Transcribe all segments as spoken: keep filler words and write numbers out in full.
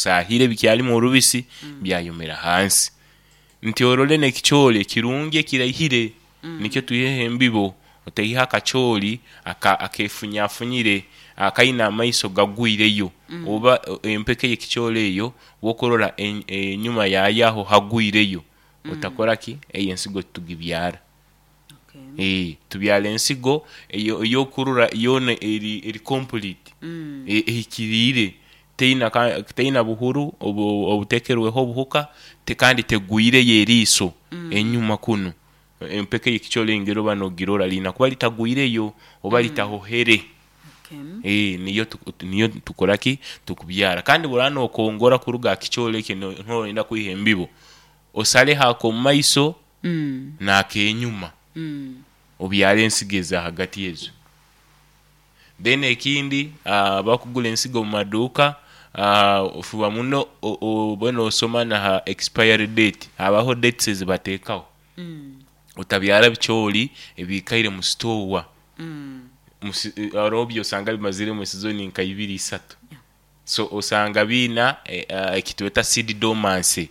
Osahire bikyalimu orubisi, byayomera hansi. Nti orole n'ekicooli ekirungi ekiraihire, nikyo twiheho embibo. Otaiha akacooli aka akefunyafunyire, akaina amaiso gagwireyo, oba empeke y'ekicooli eyo bwokurora en- enyuma yaayo aho hagwireyo, otakoraki? Eyo ensigo titugibyara. Okay. Eeh tubyara ensigo eyo eyokurora yoona eri eri complete, Mm. e- ehikiriire, teina ka teina buhuru obu obuteekerweho obuhuka, te kandi tegwireyo eriiso enyuma kunu. Empeke y'ekicooli engeri oba noogirora liina kuba litagwireyo oba litahohere. Okay. Eeh niyo tuku niyo tukoraki? Tukubyara. Kandi bworaba nookongora kuruga ha kicooli eki no noyenda kwiha embibo, osareho ak'omu maiso Mm. n'akenyuma, Mm. obyare ensigo eza hagati ezo. Then ekindi, abakugura ensigo omu maduuka, ofuba muno o- obe noosoma na ha expiry date, habaho dates ezibateekaho. Mm. Otabyara bicooli ebiikaire mu store. Mm. Musi haroho byosanga bimaziremu esizoni nka ibiri, isatu, so osanga biina e- ekitweta seed dormancy,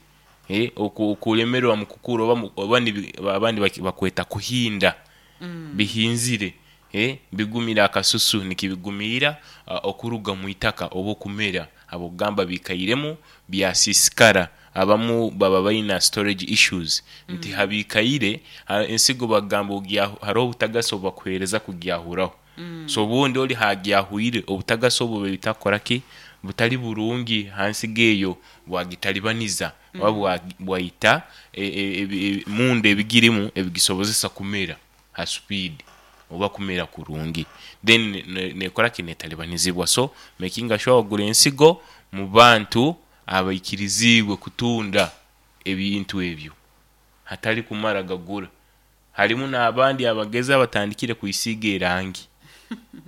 eeh oku- okulemerwa mu kukura oba mu oba nibi abandi baki bakweta kuhinda. Mm. Bihinzire, eeh bigumire akasusu nikibigumiira okuruga mwitaka oba okumera habw'okugamba biikairemu byasiisikara. Abamu baba baina storage issues nti habiikaire, ha ensigo bakugamba ogya haroho obutagasi obu bakuheereza kugyahuraho. Mm. So obundi oli haagyahwire, obutagasi obu bubaire butakukoraki? Butali burungi ha nsigo eyo, bwagitalibaniza oba bwa bwaita e- e- ebi munda ebigirimu ebigisobozesa kumera ha speed oba kumera kurungi, then ne nekoraki? Neetalibanizibwa. So mekinga sure wagura ensigo mu bantu abaikiriziibwe kutunda ebintu ebyo, hatali kumara gagura. Harimu n'abandi abagezi abatandikire kwisiiga erangi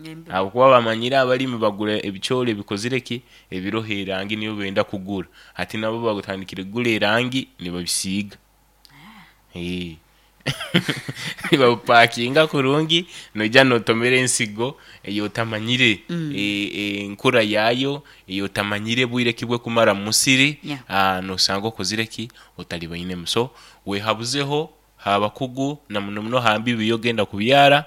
Embibo. habwokuba bamanyire abalimi bagura ebicooli ebikozire ki? Ebiroho erangi niyo benda kugura. Hati nabo batandikire kugura erangi nibabisiiga. Eeh nibabipakinga kurungi, noija nootomera ensigo ey'otamanyire Mm. e- enkura yaayo, ey'otamanyire bwire ki bwekumara mu musiri, Yeah. aa noosanga okozire ki? Otalibainemu. So weehabuzeho h'abakugu na muno muno ha mbibo eyogenda kubyara,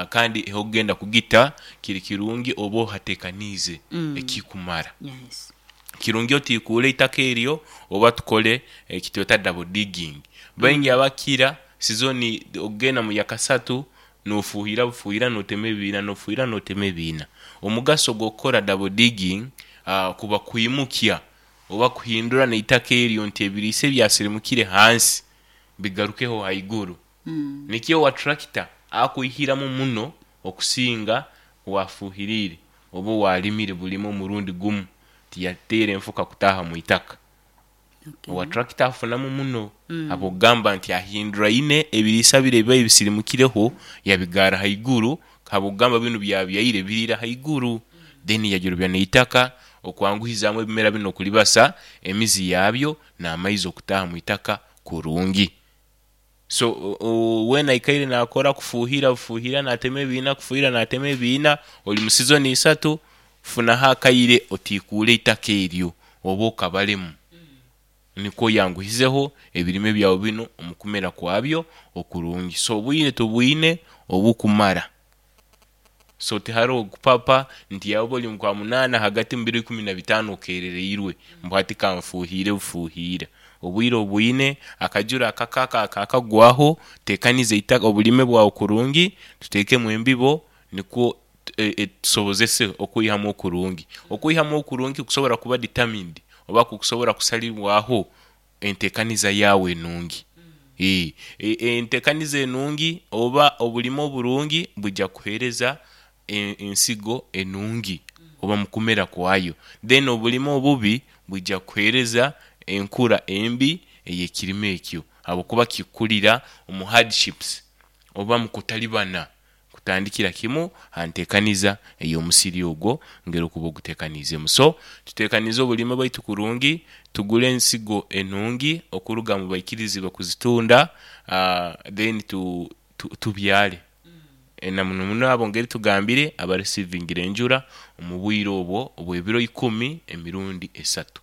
kandi h'okugenda kugita kiri kirungi obe ohateekaniize Mm. ekikumara. Yes. Kirungi otiikuule eitaka eryo oba tukole ekitweta double digging. Baingi abakira sizoni okugenda mu yakasatu noofuuhira bufuuhira nootema ebiina, noofuuhira nootema ebiina. Omugaso gw'okukora double digging, kuba kwimukya oba kuhindura n'eitaka eryo nti ebiriisa ebyasirimukire hansi bigarukeho haiguru. Mm. Nikyo owa tractor akwihiramu muno okusinga owafuuhiriire oba owaarimire bulime omurundi gumu tiyateera enfuka kutaaha mwitaka. Okay. Owa tractor afunamu muno Mm. habw'okugamba nti ahinduraine ebiriisa biri ebibaire bisirimukireho yabigarra haiguru habw'okugamba binu byabyaire biriira haiguru, then yagyorobya n'eitaka okwanguhizaamu ebimera binu okulibasa emizi yaabyo n'amaizi okutaaha mwitaka kurungi. So o- o- weena aikaire naakora kufuuhira bufuuhira naatema ebiina, kufuuhira naatema ebiina, ori mu sizoni isatu, funaho akaire otiikuule eitaka eryo oba okabalemu nikwo oyanguhizeho ebirime byawe binu omu kumera kwabyo okurungi. So obwire tubwine obukumara, so tiharoho kupapa nti oba ori mu Kwamunaana hagati mu biro ikumi na bitaano okeerereirwe ngu hati kanfuuhire bufuuhiira. Obwire obwine, akajura akake ako akaakagwaho, teekaniza eitaka obulime bwawe kurungi, tuteekemu embibo nikwo e- e- tusobozese okwihamu okurungi. Okwihamu okurungi kukusobora kuba determined oba kukusobora kusalirwaho enteekaniza yaawe enungi. Eeh e- enteekaniza enungi oba obulime oburungi bwija kukuheereza e- ensigo enungi oba mu kumera kwayo, then obulime obubi bwija kukuheereza enkura embi ey'ekirime ekyo habwokuba kikukurira omu hardships oba mu kutalibana kutandikira kimu ha nteekaniza ey'omusiri ogwo engeri okuba oguteekaniizeemu. So tuteekanize obulime bwaitu kurungi, tugule ensigo enungi okuruga mu baikiriziibwe kuzitunda, then tu tu tubyare, na muno muno abo engeri tugambire abarisivingire enjura omu bwire obwo obw'ebiro ikumi emirundi esatu.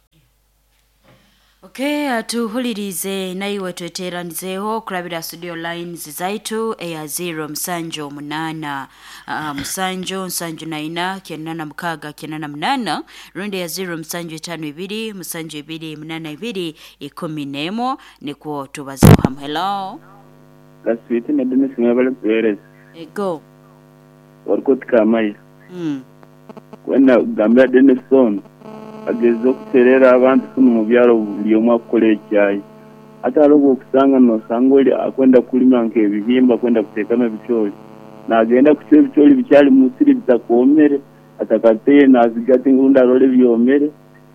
Okay, tuhulirize naiwe tweteranizeho kurabira studio lines zaitu eya zero musanju munana uh, musanju nsanju naina kyenda na mukaga kyenda na munana rundi ya zero musanju itano ibiri musanju ibiri munana ibiri ikumi nemo nikwo tubazeho hamwe. Hello Kaswiti na Dennis mwebale kuhereza ego warikoti kamayi mm. kwenda kugambira Dennis ono ageze okuterera abantu kunu mu byalo buli omu akukola ekyayi ate hariho okusanga nosanga oli akwenda kulima nk'ebihimba akwenda kuteekamu ebicooli nagenda kucwa ebicooli bikyali musiri bitakomere atakateye nazigata rundi arole byomere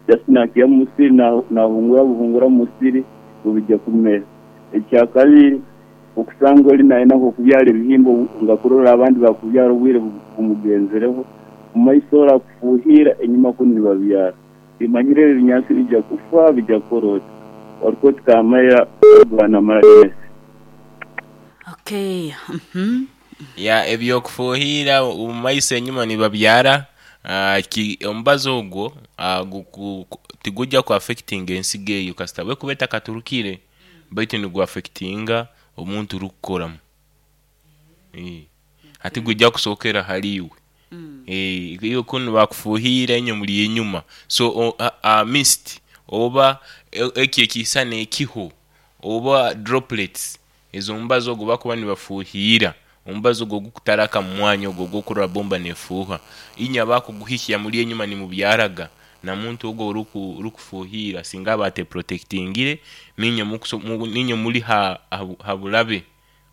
just nakiya mu musiri nahungura buhungura mu musiri bubijja kumera. Ekyakabiri okusanga oli nayina okubyala ebihimba nga kurora abandi bakubyala obwire bumugenzereho mumaiso ora kufuhira enyuma kunu nibabyara bimanyire ebinyansi bijja kufa bijja korota warikoti kamaya bwana maragesi. Okay. Mhm. Ya ebyokufuhira mumaiso enyuma nibabyara uh, ki omubazi ogwo uh, tigujja ku affecting ensigo eyo kasita bwekuba etakaturukire baitu nigu affectinga omuntu rukukoramu eh ati gujja kusookera haliwe Mm. eh iyo kunu bakufuhira enyo muri enyuma so o, a, a mist oba eki ekisana ekiho oba droplets ezo mbazo ogwo bakuba nibafuhira omubazo ogwo gukutaraka mu mwanya ogwo gwokurora bomba nefuha inya bakuguhikya muri enyuma ni mubyaraga na muntu ogwo uruku urukufuhira singa bate protectingire ninyo mukuso ninyo muri ha, ha, habulabe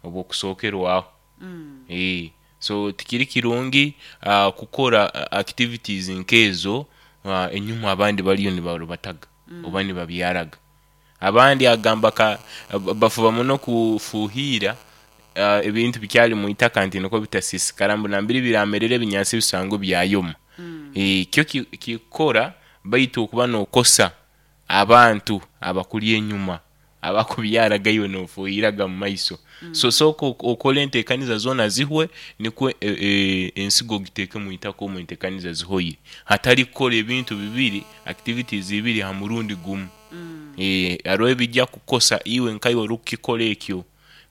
obwo kusokerwaho Mm. eh so tikiri kirungi uh, kukora uh, activities nkezo uh, enyuma abandi baliyo nibarubataga mm. oba nibabyaraga abandi agamba ka bafuba muno kufuhira uh, ebintu bikyali mu itaka nti niko bitasisikara mbu nambiri biramerere ebinyansi bisango byayoma Mm. e, kyo kikora baitu okuba nokosa abantu abakuli enyuma abakubyaragayo nofuhiraga mu maiso mm. so sooka okole enteekaniza zoona zihwe nikwo e, e, ensigo giteeke mu itaka omu enteekaniza zihoire hatali kukola ebintu bibiri activities ibiri ha murundi gumu Mm. e, hariho ebijja kukosa iwe nkaiwe orikukikora ekyo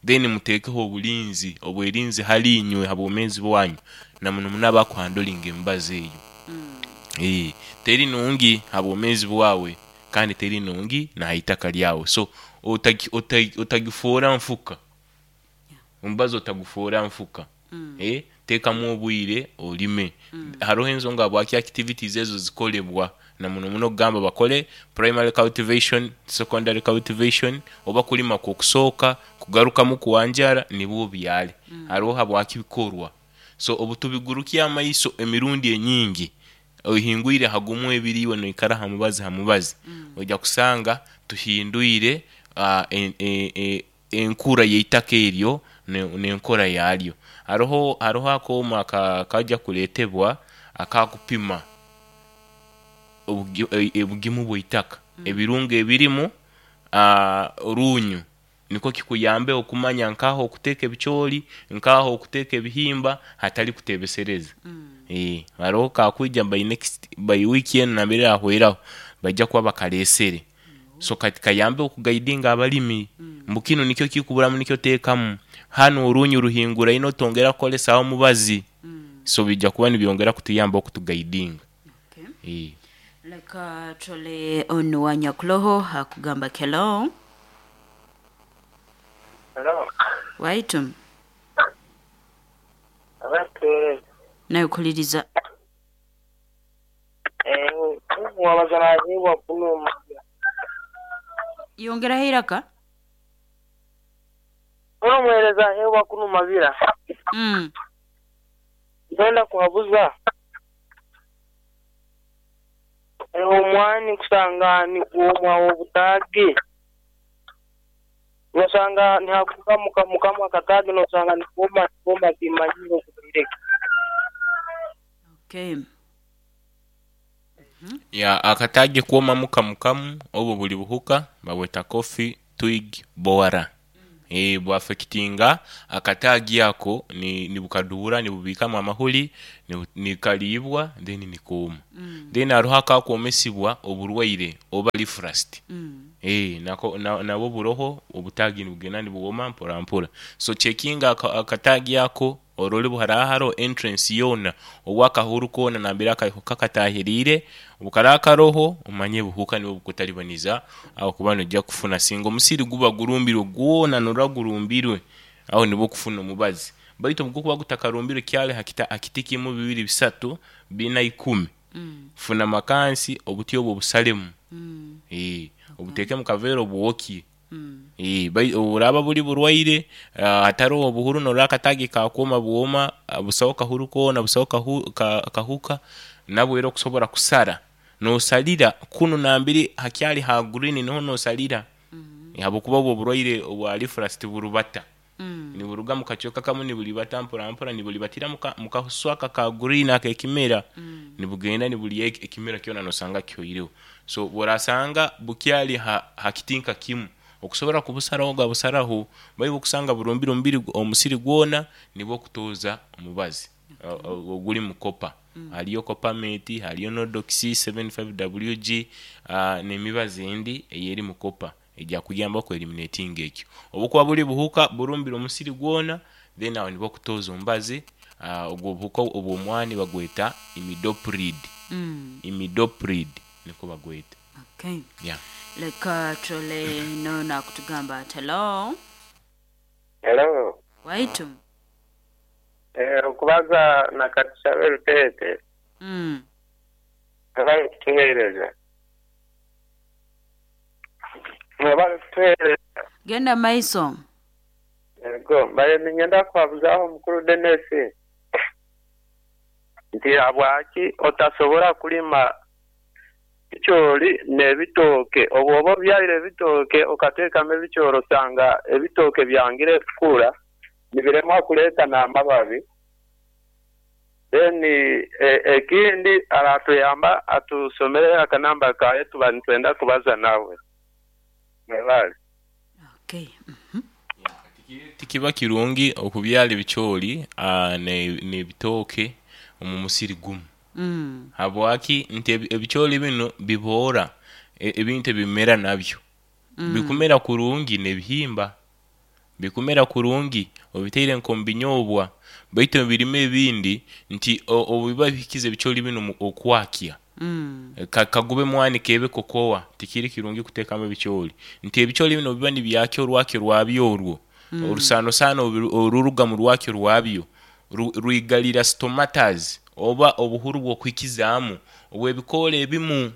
then muteekeho obulinzi obwerinzi hali inywe ha bwomeezi bwanyu na muno muno abakuhandolinga emibazi eyo Mm. e, teri nungi ha bwomeezi bwawe kandi teri nungi na itaka lyawe so otagi- otagi- otagifuura nfuka omubazi otagufuura nfuka Mm. eh, teekamu obwire olime hariho ensonga bwaki activities ezo zikolebwa na muno muno okugamba bakole primary cultivation secondary cultivation oba kulima kwokusooka kugarukamu kuwanjara nibwo byale hariho habwaki bikorwa so obu tubigurukya amaiso emirundi enyingi ohingwire hagumu ebiriiwe noikara ha mubazi ha mubazi ojja kusanga tuhindwire uh, en, en, en, enkura y'eitaka eryo ne- n'enkora yaryo hariho hariho akooma ka- kajja kuleetebwa akakupima obugi- e- obugimu bw'eitaka ebirungo ebirimu ah, orunyu niko kikuyambe okumanya nkaho okuteeka ebicooli nkaho okuteeka ebihimba hatali kutebesereza Mm. eh hariho kakwija by next by week eno nambere ahweraho bajja kuba bakalesere so kati kayambe okugaidinga abalimi mbu kino nikyo kikuburamu nikyo teekamu hano orunyu ruhingura ino tongera kukolesaho mubazi Mm. so bijja kuba nibyongera kutuyamba okutugaidinga Okay. eh Leka tole onu wa nyakuloho akugamba hello Hello. waitu Abatuereza. nawe kuliriza Eh, wabaza naheebwa kunuma. yongeraho iraka Ono omuheereza aheebwa kunumabira. mm. Nkwenda kuhabuza. Eh, omwani kusanga nigwomwa obutaagi. Nosanga nihakukamuka mukamu akataagi nosanga nigwoma nigwoma kimanyire okubireka. Okay. ya akatagi kwomamu kamukamu obwo buli buhuka babweta coffee twig borer e, bwafekitinga akatagi ako ni, ni bukadura nibubikamu amahuri Ni- nikaliibwa then nikooma. Then haroho akakwomesibwa oburwaire oba leaf rust. Mm. Eh, nako na, nabwo buroho obutagi nibugenda nibuwoma mpora mpora. So checkinga aka- akatagi ako orole buharaha haro entrance yoona owakahuru koona nambere akahuka katahiriire. Obukaraba karoho, omanye buhuka nibwo bukutalibaniza aho kuba nojja kufuna singa omusiri guba gurumbirwe gwona, norora gurumbirwe, aho nibwo kufuna omubazi. Baitu obugukuba gutakarumbirwe kyali hakita hakiti kimu, bibiri, bisatu, bina, ikumi, Mm. funa makansi, obuti obwo obusalemu. Mm. Eh, obuteeke mu kaveera obuwokye. Mm. Eh, bai- oburaba buli burwaire, ah, hataroho obuhuru, norora akatagi kakwoma bwoma, ah, busaho kahuru koona, busaho kahu, ka, kahuka nabwo era okusobora kusara nosalira kunu nambiri hakyali ha green, niho nosalira. Mm. Habwokuba obwo oburwaire obwa leaf rust burubata, Mm. niburuga mu kacweka kamu nibulibata mpora mpora, nibulibatira muka- mu kahuswaka ka green ak'ekimera. Mm. Nibugenda nibulya ek- ekimera kyona, nosanga kihoireho. So bworasanga bukyali ha, ha kitinka kimu, okusobora kubusaraho gabusaraho. Baibu okusanga burumbire omubiri omusiri gwona, nibwo okutoza omubazi o- o- oguli mu copper. Haliyo Coppermate, haliyo Nordox seventy-five W G, uh, n'emibazi endi eyeri mu copper ejja kuyamba okueliminating ekyo. Obukuba buli buhuka burumbire omusiri gwona, then aho nibwo okutoza omubazi. uh, ogwo obuhuka obw'omwani bagweta imidloprid. Mm. Imidloprid niko bagweta. Okay. Yeah. Leka turole noona akutugamba ati hello. Hello. Waitu. Eh, okubaza na Katushabe Rutete. Mm. Mwebale kutuheereza. Mwebale kutuheereza. Genda maiso. Ego, mbaye ninyenda kuhabuzaho omukuru Dennis nti habwaki otasobora kulima ebicoori n'ebitooke? Obu oba obyaire ebitooke okateekamu ebicoori, osanga ebitooke byangire kukura, nibiremwa kuleeta n'amababi. Then e- ekindi aratuyamba atusomere akanamba kaye, tuba nitwenda kubaza nawe. Mwebale. Okay. Mhm. Tikiba kirungi okubyala ebicoori uh, n'ebitooke omu musiri gumu. Mm. Habwaki? Nti ebi- ebicoori bino biboora e- ebintu ebimera nabyo. Mm. Bikumera kurungi n'ebihimba bikumera kurungi obiteire nk'omu binyobwa, baitu ebirime ebindi nti o- obu biba bihikize ebicoori bino mu- okwakya. Mm. Ka- kagube mwani kebe kokowa, tikiri kirungi kuteekamu ebicoori, nti ebicoori bino biba nibyakya orwakyo rwabyo orwo. Mm. Orusaanosaano obu- oruruga mu rwakyo rwabyo ru- rwigalira stomatas oba obuhuru bw'okuhikizaamu obw'ebikoora ebimu.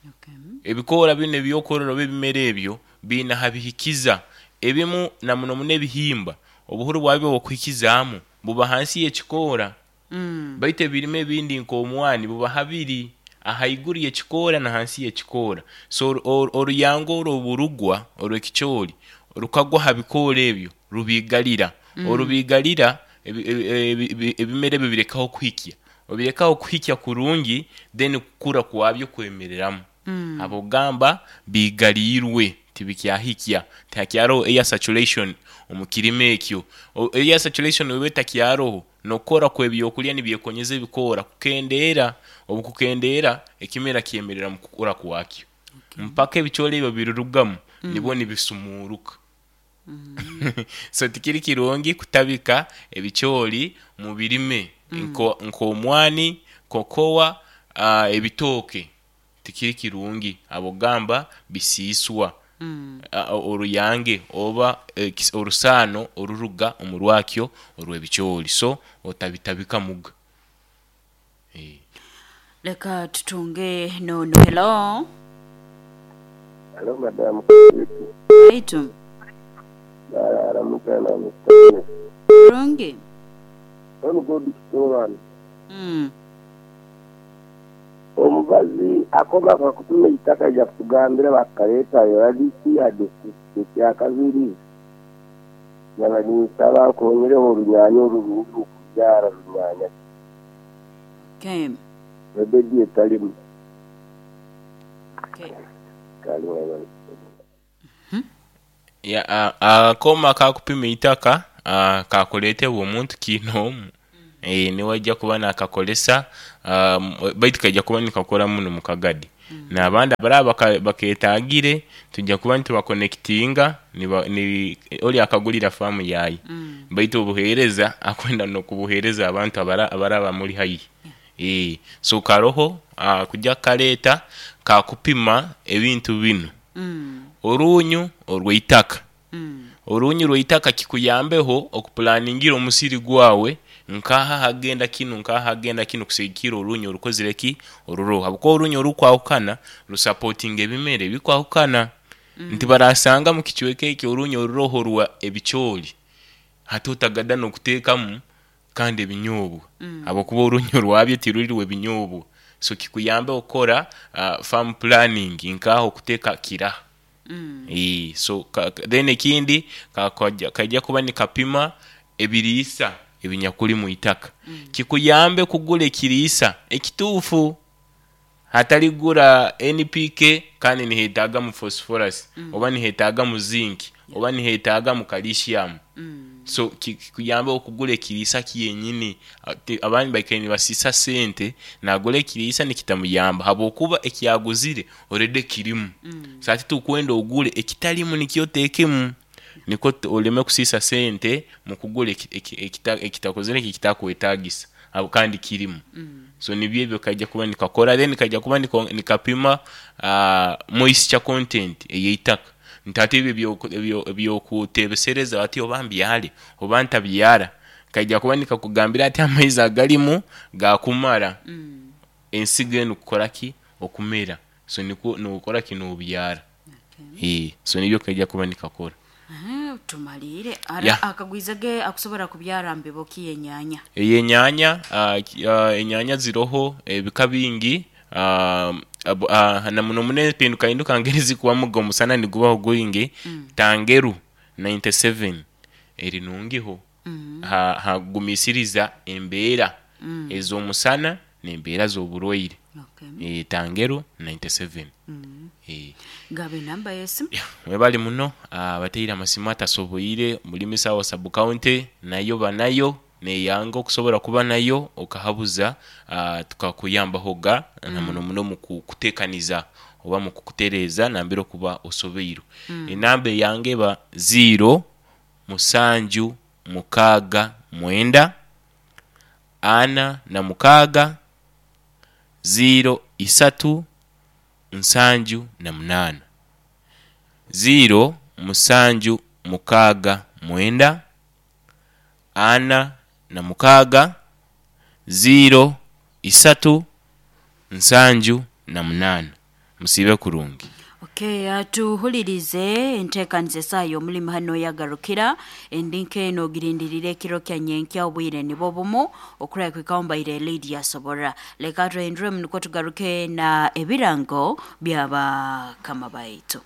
Okay. Ebikoora bino ebyokorora oba ebimera ebyo biina habihikiza ebimu, na muno muno ebihimba, obuhuru bwabyo bw'okuhikizaamu buba hansi y'ekikoora. Mm. Baitu ebirime ebindi nk'omwani buba habiri, ahaiguru y'ekikoora na hansi y'ekikoora. So oru- oru- oruyango orwo oburugwa orw'ekicoori rukagwa ha bikoora ebyo, rubiigalira. Mm. Orubiigalira ebi- ebi- ebi- ebi- ebimera ebyo birekaho kuhikya, obirekaho kuhikya kurungi, then kukura kwabyo kwemereramu. Mm. Abogamba bigaliirwe, tibikyahikya, tihakyaroho air saturation omu kirime ekyo. O- air saturation weba etakyaroho, nokukora kw'ebyokulya nibyekonyeza ebikoora kukendeera. Obu kukendeera, ekimera kyemerera mu kukura kwakyo mpaka ebicoori ebyo birurugamu. Mm. Nibwo nibisumuuruka. Mm. So tikiri kirungi kutabika ebicoori mu birime Mm. nko- nk'omwani, kokowa, uh, ebitooke, tikiri kirungi. Abogamba bisiiswa Mm. uh, oruyange oba eh, kis- orusaano oruruga omu rwakyo orw'ebicoori, so otabitabika muga. Eh. Leka tutunge nono hello. Hello, madamu. Waitu. Bararamukana Mister Kurungi. On God Kitungani. Mm. Omubazi akoma kakutuma itaka lya kutugambira bakaleeta yoradisi adesi ekyakabiri nyaba ninsaba nkonyereho orunyanya orurungi okubyara runyanya. Okay. Ebedi etalimu. Okay. Kali mwebale. Ya, a- akoma kakupima itaka, ah, kakuleetebwa omuntu kiinoomu. Eh, niwe ajja kuba nakakolesa, um, baitu kaija kuba nikakora muno mu Kagadi. N'abandi abaraba baka- baketagire tujja kuba nitubakonekitinga, niba- ni oli akagulira faamu yaye, baitu obuheereza akwenda n'okubuheereza abantu abara abaraba muli haihi. Eh, so karoho uh, kujja kaleeta kakupima ebintu binu, Mm. orunyu orw'eitaka. Mm. Orunyu rw'eitaka kikuyambeho okupulaningira omusiri gwawe, nkaha hagenda kinu, nkaha hagenda kinu, kusigikira orunyu orukozire ki oruroho, habwokuba orunyu orukwahukana rusapotinga ebimera ebikwahukana. Nti barasanga mu kicweka eki orunyu oruroho rwa ebicooli, hati otagada n'okuteekamu kandi ebinyobwa, habwokuba orunyu rwabyo tiruri rw'ebinyobwa. So kikuyambe okukora uh, farm planning, nkaha okuteeka kiraha. Mm. Eh, so ka, ka- then ekindi ka- kaja kaija kuba nikapima ebiriisa ebinyakuli mu itaka, kikuyambe kugura ekiriisa ekituufu, hatali kugura N P K kandi nihetagamu phosphorus, oba nihetagamu zinc, oba nihetagamu calcium. Mm. So ki- kikuyambe okugura ekiriisa kyenyini. Ate- abandi baikaire nibasiisa sente, nagura ekiriisa nikitamuyamba habwokuba ekyaguzire already kirimu. So ati tukwenda ogure ekitalimu nikyo oteekemu, nikwo t- oleme kusiisa sente mu kugura eki- eki- ekita- ekitakozere eki ekitakwetagisa abo kandi kirimu. So nibyo ebyo kaija kuba nikakora. Then kaija kuba niko- nikapima uh, moisture content ey'eitaka, nti ate ebyo ebyoku- ebyo- ebyokutebesereza ati oba mbyare oba ntabyara, kaija kuba nikakugambira ati amaizi agalimu gakumara Mm. ensigo enu kukora ki okumera. So nikwo nokora ki nobyara. Okay. Eh, so nibyo kaija kuba nikakora. Aha, tumalire. Ara Yeah. akagwiza ge akusobora kubyara mbibo ki enyanya? Eyenyanya, uh, ki- uh, enyanya ziroho ebika bingi, uh, ab- uh, na muno muno empindukahinduka ngeri zikubamuga omusana nigubaho gwingi. Tangeru ninety-seven eri nungiho, Mm. ha hagumisiriza embeera Mm. ez'omusana n'embeera z'oburwaire. Okay. E, tangeru ninety-seven. Mm. E, Gabe namba yesimu. mwebali muno abateire amasimu atasoboire muri Misawa sub county, nayo banayo neyanga okusobora kuba nayo okahabuza, uh, tukakuyambahoga na muno muno mu kukuteekaniza oba mu kukutereeza nambere okuba osobeirwe. Enamba eyange eba zero musanju mukaaga mwenda ana na mukaaga zero isatu nsanju na munaana, zero musanju mukaaga mwenda ana na mukaaga zero isatu nsanju na munaana. Musiibe kurungi. Okay, uh, tuhulirize enteekaniza esaayo omulimu hano yagarukira endinka eno ogirindirire ekiro kya nyenkya obwire nibwo bumu okuraya kwikawombaire Lydia Sobora. Leka tuhinduremu nukwo tugaruke na ebirango byabakama baitu.